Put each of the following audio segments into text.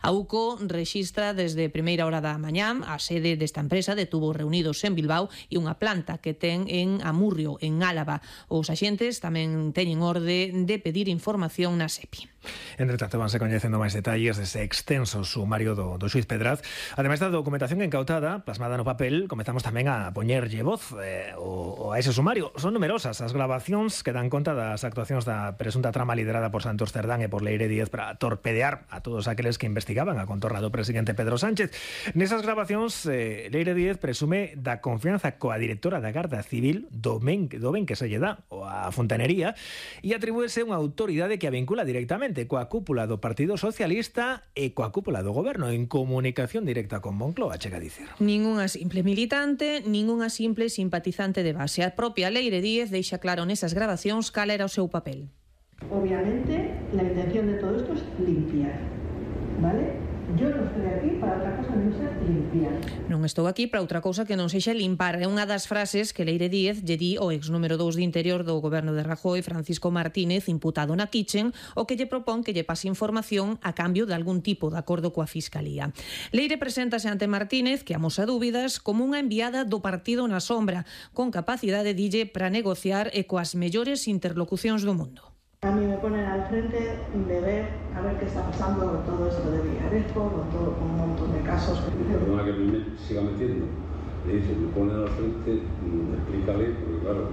A UCO rexistra desde primeira hora da mañá. A sede desta empresa detuvo reunidos en Bilbao e unha planta que ten en Amurrio, en Álava. Os axentes tamén teñen orde de pedir información na SEPI. Entre tanto, vanse coñecendo máis detalles dese extenso sumario do xuiz Pedraz. Ademais da documentación incautada, plasmada no papel, comezamos tamén a poñerlle voz a ese sumario. Son numerosas as gravacións que dan conta das actuacións da presunta trama liderada por Santos Cerdán e por Leire Díez para torpedear a todos aqueles que investigaban a contorna do presidente Pedro Sánchez. Nesas gravacións, Leire Díez presume da confianza coa directora da Garda Civil do ben que se lle dá a fontanería e atribúese unha autoridade que a vincula directamente coa cúpula do Partido Socialista e coa cúpula do Goberno en comunicación directa con Moncloa, chega a dicir. Ningunha simple militante, ningunha simple simpatizante de base. A propia Leire Díez deixa claro nesas gravacións cal era o seu papel. Obviamente, la intención de todo esto es limpiar, ¿vale? Yo no estoy aquí para outra cosa que non sea limpiar. Non estou aquí para outra cousa que non sexa limpar. É unha das frases que Leire Díez lle di ao ex número 2 de Interior do goberno de Rajoy, Francisco Martínez, imputado na Kitchen, o que lle propón que lle pase información a cambio de algún tipo de acordo coa Fiscalía. Leire preséntase ante Martínez, que amosa dúbidas, como unha enviada do partido na sombra, con capacidade, dille, para negociar e coas mellores interlocucións do mundo. A mí me ponen al frente de ver a ver qué está pasando con todo esto de Villarejo, con un montón de casos. Perdona que me siga metiendo. Le dice, me ponen al frente, explícale, porque claro.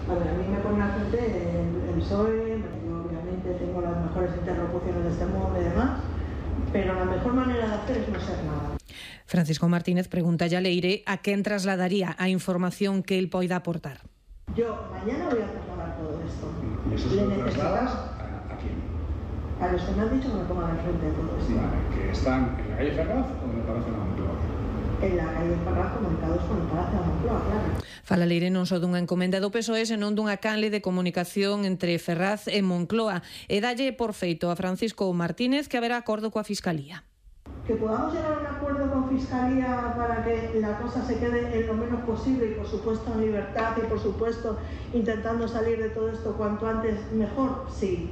A ver, a mí me ponen al frente el PSOE, obviamente tengo las mejores interlocuciones de este mundo y demás, pero la mejor manera de hacer es no ser nada. Francisco Martínez pregunta a Leire a quen trasladaría a información que él poida aportar. Yo mañana voy a trasladar todo esto. ¿Y eso se lo trasladas a quién? A los que me han dicho que me pongan al frente de todo esto. Vale, que están en la calle Ferraz o en el Palacio de la Moncloa. En la calle Ferraz, comunicados con el Palacio de la Moncloa, claro. Fala Leire non só dunha encomenda do PSOE, senón dunha canle de comunicación entre Ferraz e Moncloa. E dalle por feito a Francisco Martínez que haberá acordo coa Fiscalía. Que podamos llegar a un acuerdo con Fiscalía para que la cosa se quede en lo menos posible y por supuesto en libertad y por supuesto intentando salir de todo esto cuanto antes mejor, sí.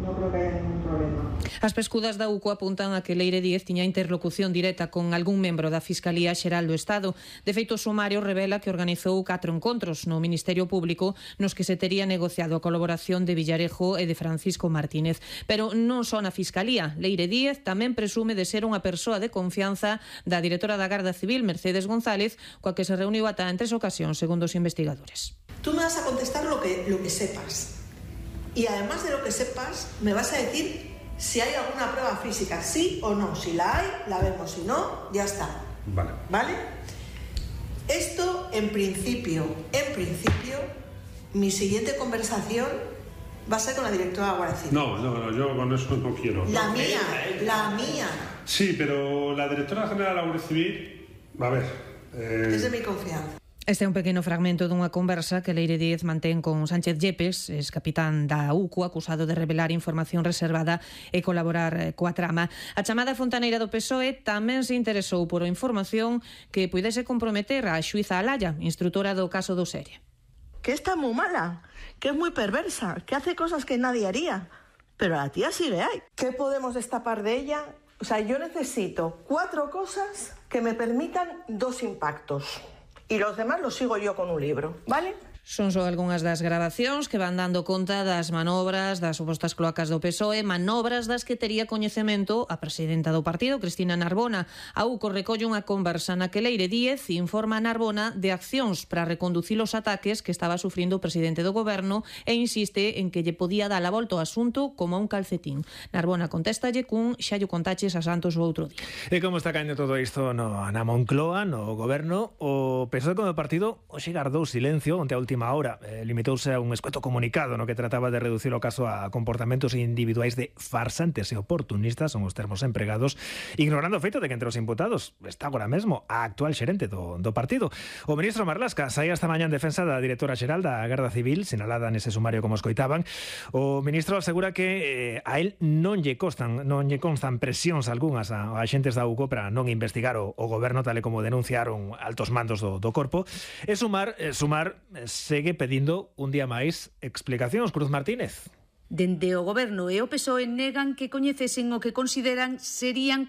Non creo que haya ningún problema. As pescudas da UCO apuntan a que Leire Díez tiña interlocución directa con algún membro da Fiscalía Xeral do Estado. De feito, o sumario revela que organizou 4 encontros no Ministerio Público nos que se tería negociado a colaboración de Villarejo e de Francisco Martínez. Pero non só na Fiscalía. Leire Díez tamén presume de ser unha persoa de confianza da directora da Garda Civil, Mercedes González, coa que se reuniu ata en 3 ocasións, segundo os investigadores. Tú me vas a contestar lo que sepas. Y además de lo que sepas, me vas a decir si hay alguna prueba física, sí o no. Si la hay, la vemos. Si no, ya está. Vale. ¿Vale? Esto, en principio, mi siguiente conversación va a ser con la directora de la Guardia Civil. No, yo con eso no quiero. La mía. Sí, pero la directora general de la Guardia Civil, a ver. Es de mi confianza. Este é un pequeno fragmento dunha conversa que Leire Díez mantén con Sánchez Yepes, ex capitán da UCO, acusado de revelar información reservada e colaborar coa trama. A chamada fontaneira do PSOE tamén se interesou por a información que puidese comprometer a xuíza Alaya, instrutora do caso do Serie. Que está moi mala, que es moi perversa, que hace cosas que nadie haría, pero a la tía sí le hay. ¿Qué podemos destapar de ella? O sea, yo necesito 4 cosas que me permitan 2 impactos. Y los demás los sigo yo con un libro, ¿vale? Son só algunhas das gravacións que van dando conta das manobras das supostas cloacas do PSOE, manobras das que tería coñecemento a presidenta do partido, Cristina Narbona. A UCO recolle unha conversa na que Leire Díez informa a Narbona de accións para reconducir os ataques que estaba sufrindo o presidente do goberno e insiste en que lle podía dar a volta ao asunto como a un calcetín. Narbona contéstalle cun xa lle contaches a Santos o outro día. E como está caendo todo isto na Moncloa, no goberno, o PSOE como partido hoxe gardou silencio onte a última hora. Limitouse a un escueto comunicado no que trataba de reducir o caso a comportamentos individuais de farsantes e oportunistas, son os termos empregados, ignorando o feito de que entre os imputados está agora mesmo a actual xerente do partido. O ministro Marlaska saía esta mañá en defensa da directora xeral da Garda Civil, sinalada nese sumario como escoitaban. O ministro asegura que a él non lle constan presións algunhas a axentes da UCO para non investigar o goberno, tal e como denunciaron altos mandos do corpo. E Sumar segue pedindo un día máis explicacións. Cruz Martínez. Dende o goberno e o PSOE negan que coñecesen o que consideran serían